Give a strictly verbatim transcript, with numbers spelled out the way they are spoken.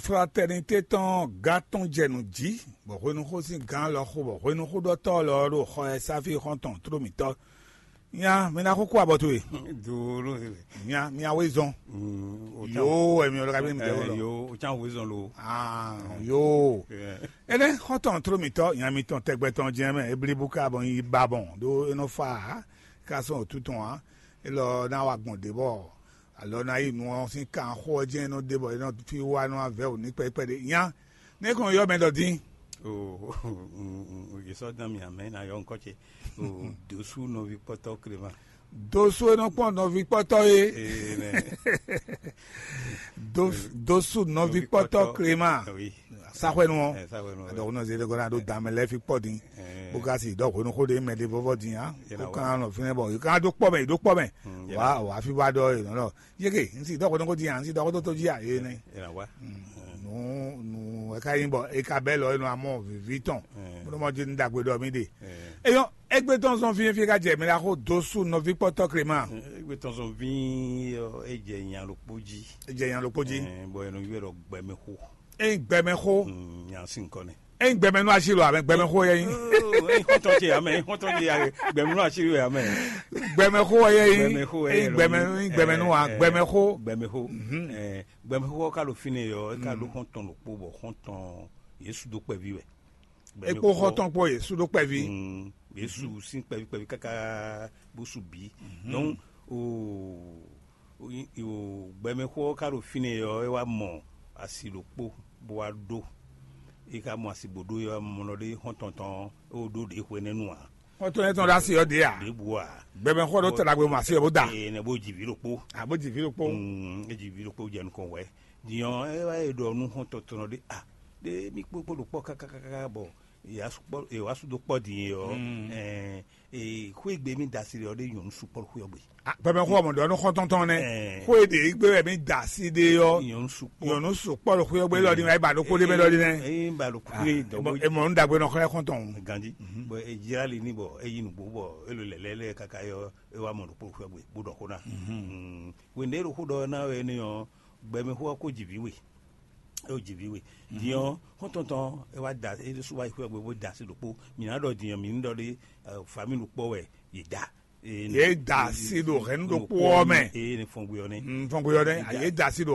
Fraternité tɔn gán tɔn jɛ nǔ jí, bɔ hwenuxó sín gán lɔ xo, bɔ hwenuxóɖɔtɔ́ lɔ ɖo xɔ ɛ sáfí xɔ́ntɔn tló mǐtɔn. Nya mi ná xó kú abɔ towe. Dolo. Nya mi awe zɔn. Yo, emi ɔlɔ kabi mi dɛwɔ lɔ. Yo, o can wezɔn lo. Ah, yo. Ene xɔ́ntɔn tló mǐtɔn, nya mitɔn tɛgbɛ tɔn jɛn mɛ eblibu ka bɔ nyi ba bɔn ɖó e nɔ fa ká sɔn òtú tɔn ǎ. Elɔ ná wa gbɔn ɖě bɔ alɔ ná yi nu ɔ́ sín kan xó ɔ́ jɛ́n é nɔ ɖe bɔ é nɔ fí wá nɔ avɛ wǔ ní kpɛ́kpɛ́ ɖé nya. Nɛ́ kɔn yɔ mɛ ɖɔ dín. O, yě sɔ́ dán mì amɛ ná yɔ ŋkɔ ce. O, dǒsú nɔví kpɔ́tɔ́ Kléma. Dǒsú e nɔ kpɔn nɔví kpɔ́tɔ́ é. Ee, nɛ. Dǒsú nɔví kpɔ́tɔ́ Kléma. Oui. Saxwɛnu ɔ́. Ɛ, saxwɛnu ɔ́. Adɔgún náà zédé gɔ́ náà ɖó dǎmɛ lɛ́ɛ fi kpɔ́ dín. Ɛ. Bó ka si dɔ́ hwenu xó ɖé mɛ ɖé vɔ́vɔ́ dín á. Yé na kó wá. Kan nɔ fínɛ́ bɔ yé kan ɖó kpɔ́ mɛ, yé ɖó kpɔ́ mɛ. Mm, yé wá na wá fi wá ɖɔ yé nɔ. Yeke n si dɔgɔdɔgɔ ji a n si dɔgɔdɔgɔ ji a ye nɛ. Ena wa. Nu nu e ka yin bɔ e ka bɛ lɔ enu amɔ vivi tɔn. Mo mɔ ji n dagbe dɔ mi de. Eyɔn egbe tɔn zɔn fi fi ka jɛ mi la ko dosu nɔvi kpɔtɔ krema. Egbe tɔn zɔn vi e jɛ nya lokpo ji. E jɛ nya lokpo ji. Bɔ enu yue dɔ gbɛmɛ xo. Eyin gbɛmɛ xo. Nya si nkɔ ne. Eyin gbɛmɛ nu asi lo abɛ gbɛmɛ xo yɛ yin. Eyin xɔtɔ ce amɛ, eyin xɔtɔ ce amɛ, gbɛmɛ nu asi lo amɛ. Gbɛmɛ xo yɛ yin. Gbɛmɛ xo yɛ eyin gbɛmɛ nu eyin gbɛmɛ nu wa gbɛmɛ xo. Gbɛmɛ xo. Gbɛmɛ xo ka ɖo fínɛ́ yɔ, e ka ɖo xɔtɔn ɖokpó bɔ xɔtɔn Yesu ɖo kpɛví wɛ. E kpo xɔtɔn kpo Yesu ɖo kpɛví. Yesu sín kpɛví kpɛví káká bó su bǐ. Donc o o gbɛmɛxó ɔ́ ka ɖo fínɛ́ ɔ́, é wá mɔ asi ɖokpó bó wá ɖó. É ka mɔ asi bó ɖó é wá mɔ ɖɔ ɖé xɔ́ntɔn tɔn é wó ɖó ɖě hwenɛ́nu ǎ. Xɔ́ntɔn étɔn ɖo asi ɔ́ ɖě ǎ. Ɖěbǔ ǎ. Gbɛmɛxó ɔ́ ɖó tala gbe mɔ asi ɔ́ bó da. Ée nɛ bó ji vǐ ɖokpó. A bó ji vǐ ɖokpó. Mm, é ji vǐ ɖokpó jɛ nukɔn wɛ. Din ɔ́, é wá yi ɖɔ nú xɔ́ntɔn tɔn ɖé a ɖé mì kpókpó ɖo kpɔ́ kákákáká bɔ è wá sú dó kpɔ́ din é ɔ́, xwé gbe mì da asi ɖe ɔ́ ɖé nyɔ̌nu sukpɔ́ ɖo xwé ɔ́ gbe. Gbɛmɛ xó ɔmɔ ɖɔ nú xɔ́ntɔn tɔn nɛ. Xó e ɖe gbe wɛ mì da asi ɖe ɔ́, nyɔ̌nu sukpɔ́. Nyɔ̌nu sukpɔ́ ɖo xwé ɔ́ gbe lɔ ɖi wɛ ba ɖo kó ɖe mɛ lɔ ɖi nɛ. Eye ba ɖo kó ɖe dɔn. E mɔ nu ɖagbe nɔ xlɛ́ xɔ́ntɔn. Gandi bɔ e jlá li ní bɔ e yi nǔgbó bɔ e lo lɛlɛ lɛ kaka yɔ e wá mɔ ɖo kpó xwé ɔ́ gbe bó ɖɔ xó ná. Wěnde ɖo xó ɖɔ ná wɛ ní ɔ́, gbɛmɛ xó ɔ́ kó ji vǐ we. É wǒ ji vǐ we. Din ɔ́, xɔ́ntɔn tɔn é wá da é ɖésú wá yi xwé ɔ́ gbe bó da asi ɖokpó. Mǐ ná ɖɔ din ɔ́, mǐ ní ɖɔ ɖé, famíli ɖokpó wɛ yě da. Yě da asi ɖo hɛ̌nnu ɖokpó ɔ́ mɛ. Eye ní fɔn gbe ɔ́ nɛ́. Fɔn gbe ɔ́ nɛ́. Yě da asi ɖo